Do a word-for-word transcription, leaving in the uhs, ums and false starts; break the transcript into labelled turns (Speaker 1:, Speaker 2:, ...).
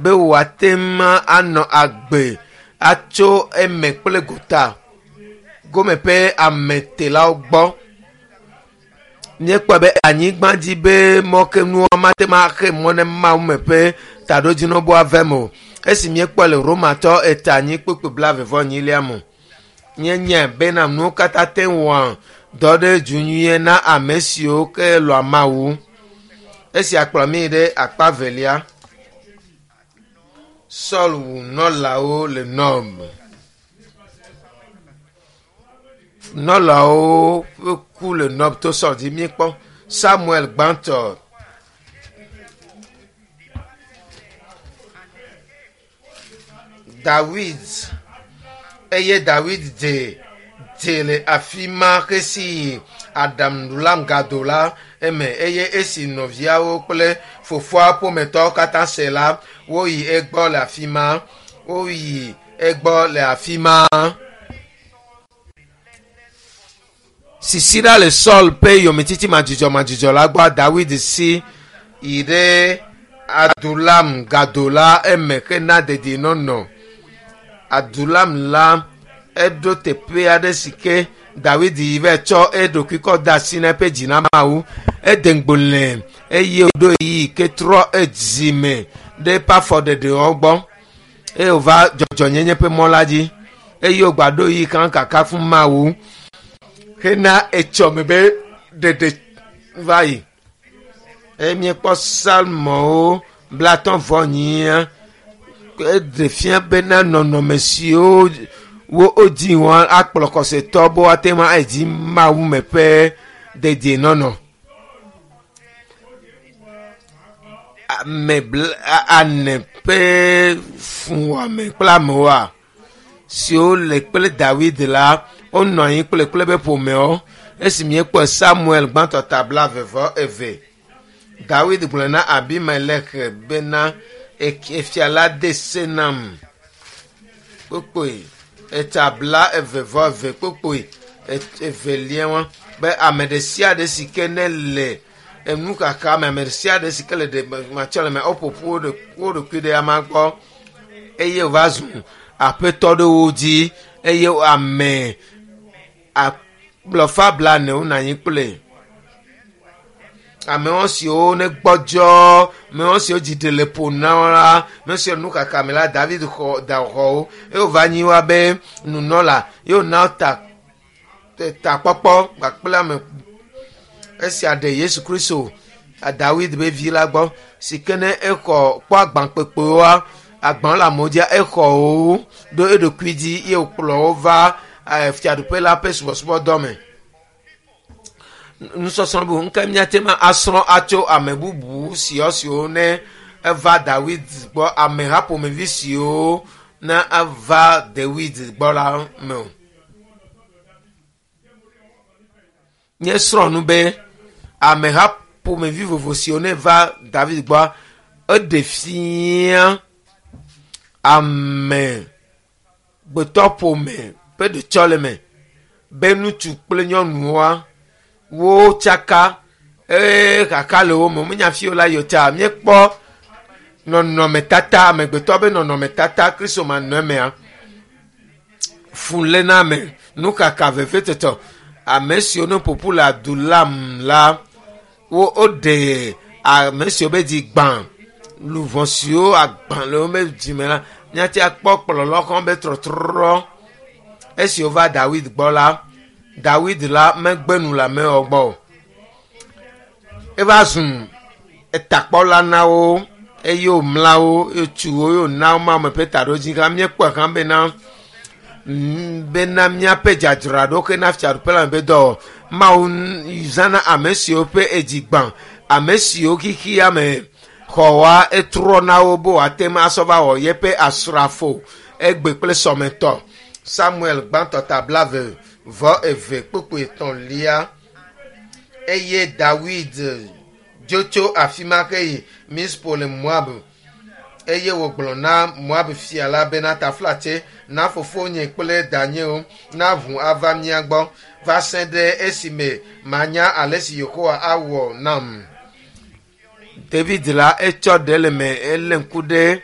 Speaker 1: Be wòate ŋu anɔ agbe atso eme kple gota gome ƒe ametelawo gbɔ. Míekpɔe be anyigba dzi be mɔkenuwo mate ŋu axe mɔ ne Mawu me ƒe taɖodzinu be woava eme o. Esi míekpɔe le Romatɔ eta anyi kpukpui blaeve vɔ enyilia me. Míenyae bena nuwo katã te ŋu wɔa dɔ ɖe du nyuie na ame siwo ke lɔ̃a Mawu. Esia kplɔ mí ɖe akpa velia. Saul wu nɔlawo le Nob. Nɔlawo ƒe ku le Nob to Saul dzi. Míekpɔ Samuel gbãtɔ. Dawid eye Dawid dze dze le afi ma xesi aɖaŋuɖula gado la eme eye esi nɔviawo kple fofoa ƒometɔwo katã se la, woyi egbɔ le afi ma. Woyi egbɔ le afi ma. Sisi ɖa le Saul ƒe yometiti madzudzɔmadzudzɔ la gbɔ Dawid si yi ɖe Adulam gado la eme hena dedienɔnɔ. Adulam la eɖo teƒe aɖe si ke Dawid yi va tsɔ eɖokui kɔ de asi na eƒe dzi na Mawu. Ede ŋgbo eye wòɖo ɣeyiɣi ke trɔ edzime ɖe eƒe afɔɖeɖewo gbɔ eye wòva dzɔdzɔnyenye ƒe mɔ la dzi eye wògba ɖo ɣeyiɣi kan kaka fún Mawu hena etsɔme be ɖeɖe va yi. Eye míekpɔ Psalmowo blatɔ̃ vɔ enyia eɖe fia bena nɔnɔme siwo wo wodzi wɔn akplɔ xɔsetɔ be woate ŋu adzi Mawu me ƒe dedienɔnɔ. Ame bla ane ƒe fuwɔame kple amewoa siwo le kple Dawid la wonɔ anyi kple kple eƒe ƒomewo. Esi míekpɔ Samuel gbãtɔ ta blaeve vɔ eve. Dawid gblɔ na Abimelek bena efia la de se nam. Kpokpoe eta bla eve vɔ eve kpokpoe evelia wa be ame ɖe sia ɖe si ke ne le enu kaka me ame ɖe sia ɖe si ke le ɖe matsɔ le me woƒoƒu wo ɖokui ɖe ama gbɔ eye wòva zu aƒetɔ ɖe wo dzi eye ame akplɔfa blaene wonɔ anyi kple amewo siwo ne gbɔdzɔ amewo siwo dzi ɖe le ƒo na wo la ame siwo nu kaka me la David xɔ da xɔ wo eye wòva nyi wa be nunɔla ye wòna ta takpɔkpɔ kpakple ame esia ɖe Yesu Kristo Dawid be vi la gbɔ si ke ne exɔ kpɔ agbankpekpewoa agban le amewo dzia exɔ wo ɖo eɖokui dzi ye wòkplɔ wo va fiaɖuƒe la ƒe subɔsubɔdɔ me. Nusɔsrɔ̃ bubu ŋke míate ŋu asrɔ̃ atso ame bubu siwo siwo ne eva Dawid gbɔ ameha ƒomevi siwo ne eva Dawid gbɔ la me o. Míesrɔ̃ nu be ameha ƒomevi vovo siwo ne va David gbɔ eɖe fia ame gbetɔ ƒome ƒe ɖetsɔleme be ŋutsu kple nyɔnuwoa wotsaka eye kaka le wo me womenya fi wo la yi o ta míekpɔ nɔnɔmetata amegbetɔ be nɔnɔmetata Kristo manɔ emea fuléname nukaka vevetɔtɔ ame siwo ne ƒoƒu le Adulam la wo woɖe ame siwo be dzi gbã luʋɔ siwo agbã le wobe dzime la míate akpɔ kplɔlɔ xɔ be trɔtrɔ esi wova Dawid gbɔ la Dawid la megbe nu le amewo gbɔ o. Eva zu etakpɔla na wo eye wòmla wo eye wòtu wo eye wòna wo Mawu me ƒe taɖodzi hã míekpɔe hã bena bena míaƒe dzadzraɖo hena fiaɖuƒe la me ƒe dɔ Mawu zãna ame siwo ƒe edzi gbã ame siwo xixia me xɔwa etrɔ na wo be wòate ŋu asɔ va wɔ yeƒe asrafo egbe kple sɔmetɔ. Samuel gbãtɔ ta blaeve vɔ eve kpukpui etɔ̃lia eye Dawid dzo tso afi ma ke yi Mizpo le Moab eye wògblɔ na Moab fia la bena taflatse na fofonye kple danyewo na ʋu ava mía gbɔ va se ɖe esime manya ale si Yehowa awɔ nam. David la etsɔ ɖe le me elé ŋku ɖe